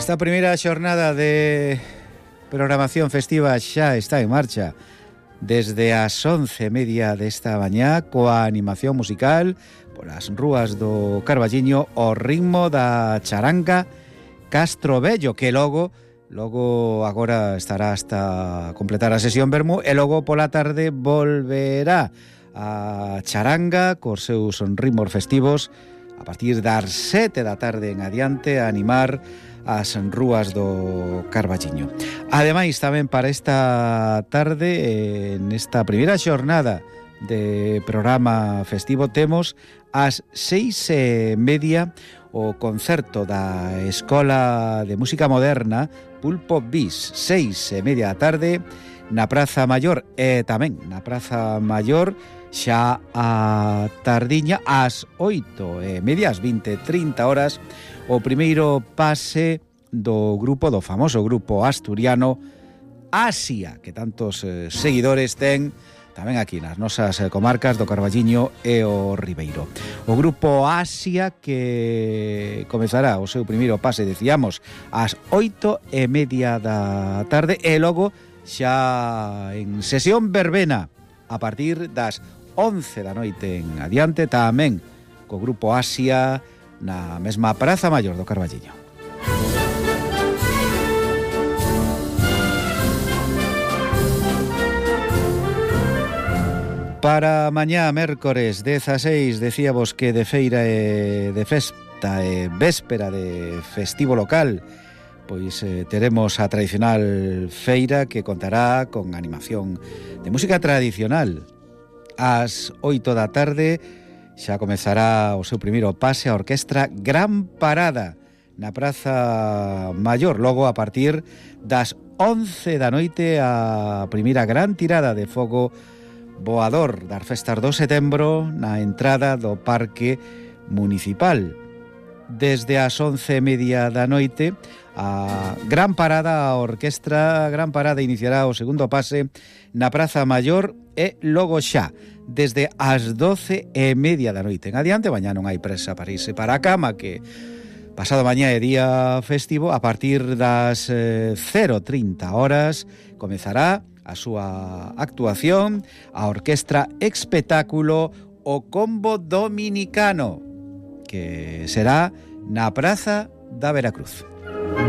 Esta primeira xornada de programación festiva xa está en marcha desde as 11:30 desta mañá coa animación musical polas rúas do Carballiño ao ritmo da charanga Castro Vello, que logo agora estará hasta completar a sesión vermú e logo pola tarde volverá a charanga cos seus ritmos festivos a partir das 7 da tarde en adiante a animar as rúas do Carballiño. Ademais, tamén para esta tarde, nesta primeira xornada de programa festivo, temos ás 6:30 o concerto da Escola de Música Moderna Pulpo Bis, 6:30 da tarde na Praza Maior, e tamén na Praza Maior xa a tardiña ás 8:30, ás 20:30 horas, o primeiro pase do famoso grupo asturiano Asia, que tantos seguidores ten tamén aquí nas nosas comarcas do Carballiño e o Ribeiro. O grupo Asia, que comezará o seu primeiro pase, decíamos, ás 8:30 da tarde, e logo xa en sesión verbena a partir das 11 da noite en adiante, tamén co grupo Asia na mesma Praza Maior do Carballiño. Para mañá, mércores 16, decíamos que de feira e de festa e véspera de festivo local, pois teremos a tradicional feira que contará con animación de música tradicional. Ás 8 da tarde xa comezará o seu primeiro pase a orquestra Gran Parada na Praza Maior. Logo, a partir das 11 da noite, a primeira gran tirada de fogo voador das festas do setembro na entrada do Parque Municipal. Desde as 11:30 da noite, a Gran Parada, a orquestra Gran Parada iniciará o segundo pase na Praza Maior, e logo xa desde as 12:30 da noite en adiante, mañá non hai presa para irse para a cama, que pasado mañá é día festivo. A partir das 0:30 horas comezará a súa actuación a orquestra espectáculo O Combo Dominicano, que será na Praza da Veracruz.